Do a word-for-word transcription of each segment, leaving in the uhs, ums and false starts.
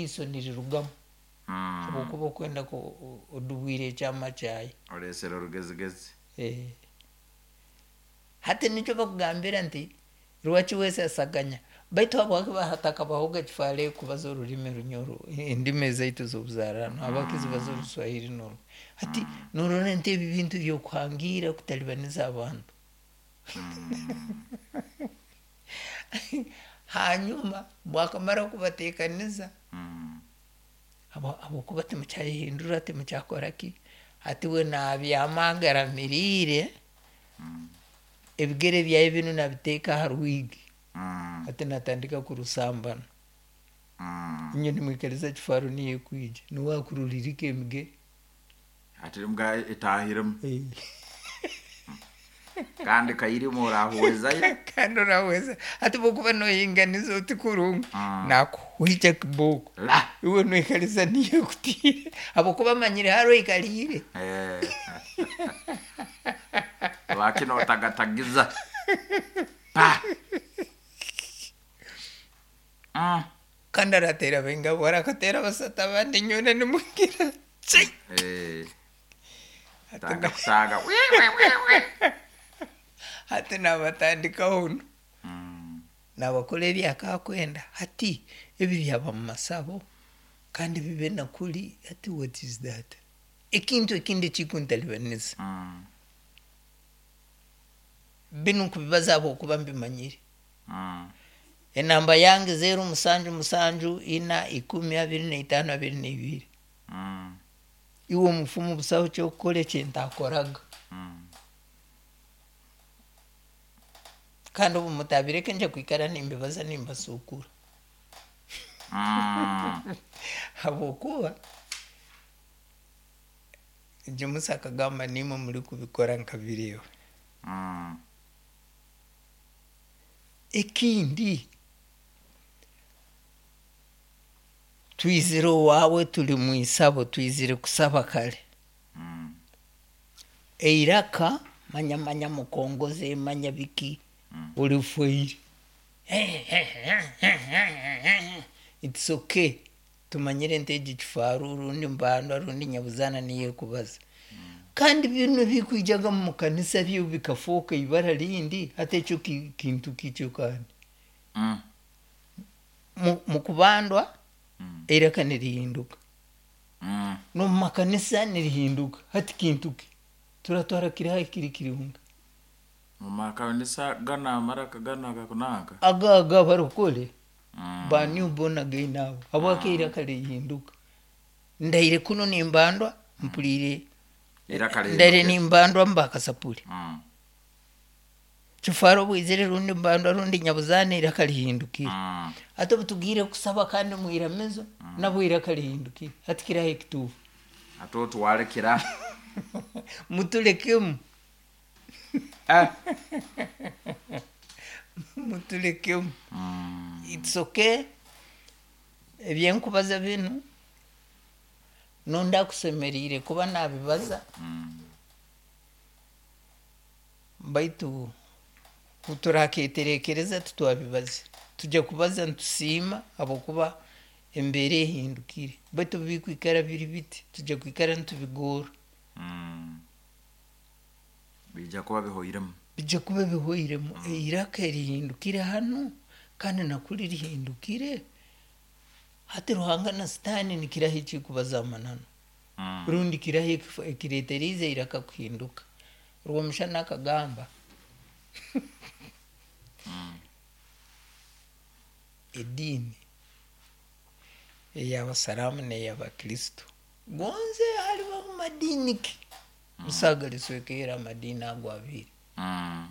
Eriiso nirirugamu Mm. habwokuba okwenda ku- odubwire ekyama kyayo. Olesere orugezigezi. Eh. Hati nikyo bakugambira nti rwaki wesasaganya, baitu habwaki hatakabahoga kifaale kubaza orulimi Runyoro, endimi ezaitu ez'obuzaarano, habwaki zibaza Oruswahiri noru? Hati norora nti ebi bintu byokuhangiira kutalibaniza abantu. Hanyuma bwakamara kubateekaniza, Mm. habwo- habwokuba timukyayehindura, timukyakora ki, hati we nabyama agaramiriire, ebigere byawe binu nabiteeka ha rwigi. Mm. Hati natandika kurusambana. Mm. Inywe nimwikiriza kifaaro niyo ekwija, nuwe akurulirika emigere. Ati mbwa etahiremu kandi kairimu orahuwezayo. Kandi orahweza, hati bwokuba noyinganiza oti kurungi, Mm. nakuhwikya kibooko. La. Iwe noikaliza niyo ekutiire habwokuba amanyire haro oikaliire. Eh. Lwaki notagatagiza pa. Mm. Kandi arateera baingabo, arakateera basatu, abandi nywena nimugira ki. Eh. Hati Tanga na- kutaga. Wi, wi, wi, wi. Hati nabatandikaho nu Mm. nabakora ebyakakwenda. Hati ebi byaba mu masabo kandi bibe nakuli. Hati what is that? Ekintu ekindi ekikuntalibaniza, Mm. binu nkubibaza habwokuba mbimanyire. Mm. Enamba yange zeru musanju musanju ina ikumi abiri naitano abiri naibiri. Mm. Iwe omufumu, busaho kyokukora ekintakoraga. Mm. Kandi obu mutabireke nja kwikara nimbibaza nimbasukura. Mm. Habwokuba James akagamba nimwe muri kubikora nkabireba. Mm. Ekindi, twizire owaawe, tuli mwisabo, twizire kusaba kale. Mm. Eiraka manya manya mukongoze manya biki, olifoire, it's okay, tumanyire nti egi kifaru rundi mbandwa rundi nyabuzana niyo ekubaza. Kandi binu bikwijaga mu kanisa byo bikafuuka ibara lindi. Hati ekyo ki- kintu kikyo kandi Mm. mu- mukubandwa Mm. eiraka nirihinduka, Mm. nomu makanisa nirihinduka. Hati kintu ki turatwara kiraha kiri kirunga? Mumakanisa gana amaraka gana gakunaka. Aga aga barokole Mm. ba new born again abo, habwaki eiraka lihinduka? Ndaire kuno nimbandwa mpulire Iraka ndaire lihinduke. nimbandwa mbakasapuli. Mm. Kifaro bwizire rundi mbandwa rundi nyabuzana, iraka lihindukire. Mm. Ate obutugire kusaba kandi mwiramizo, nabwo iraka lihindukire. Hati kiraha ekituufu? Ate otwalekera. Mutulekemu. Eh. Mutulekemu. Mm. It's okay, ebyenkubaza binu nonda akusemeriire kuba nabibaza. Mm. Baitu turaketerekereza tutwabibaza, tujja kubaza nitusiima habwokuba embeera ehindukire, baitu bikwikara biri biti tujja kwikara nitubigora. Mm. Bijja kuba bihoiremu. Bijja kuba bihoiremu. Eiraka erihindukire hanu kandi nakuli rihindukire. Hati Ruhanga na Sitaani nikiraha ekikubaza amananu? Mm. Rundi kiraha ekifu- ekireeteriize eiraka kuhinduka? Rwomushana akagamba ediini ey'abasaraamu n'ey'abakristo gonze halibaho madiini ki, musaga liswekeera amadiini ago abiri. Mm.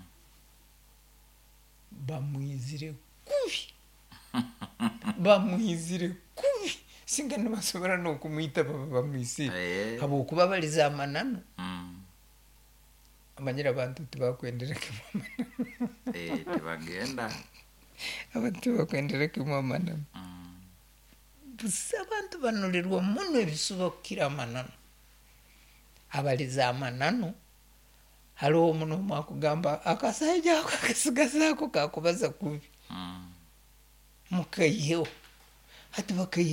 Bamwizire kubi, bamwizire kubi, singa nibasobora n'okumwita baba bamwisire. Eh. Habwokuba baliza amananu. Mm. Amanyire abantu tibakwendera kimu amananu. Eh, tebagenda. Abantu tibakwendera kimu amananu. Mm. Busa abantu banulirwa muno ebisuba kukira amananu. Abaliza amananu haliho omuno omu akugamba akasaija ako akasigazaako kakubaza kubi. Mm. Mukaiheho, hati bakaiheho.